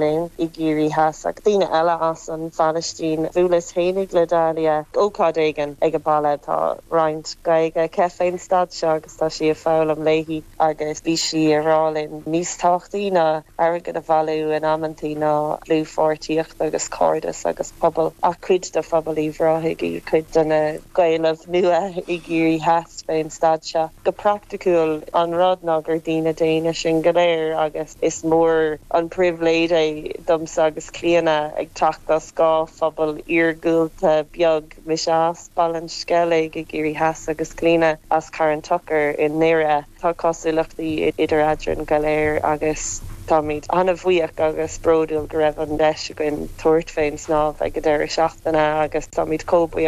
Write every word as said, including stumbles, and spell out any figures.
linn i gCiarraí Theas ach daoine eile as an Phalaistín Bhuaileas féinig le Dalia ócáid éigin ag a baile tá roinnt Gaeilge aici fén staid seo agus tá sí ag foghlaim léi agus bhí sí ag rá linn níos tábhachtaí ná airgead a bhailiú in amantaí ná dlúthpháirtíocht agus cairdeas agus pobal ach cuid de phobal Uíbh Ráthaigh í cuid de na Gaeil nua i gCiarraí Theas fén staid seo. Go praiticiúil an rud ná gur daoine daonna sinn go léir agus is mór an pribhléid é domsa agus Clíona ag teacht as dhá phobal iargúlta beag mise as Baile an Sceilg i gCiarraí Theas agus Clíona as Carn Tochair i nDoire tá cosúlachtaí idir eadrainn go léir agus táimid an-bhuíoch agus bródúil go raibh an deis againn tabhairt fén snámh ag an deireadh seachtaine agus táimid chomh buíoch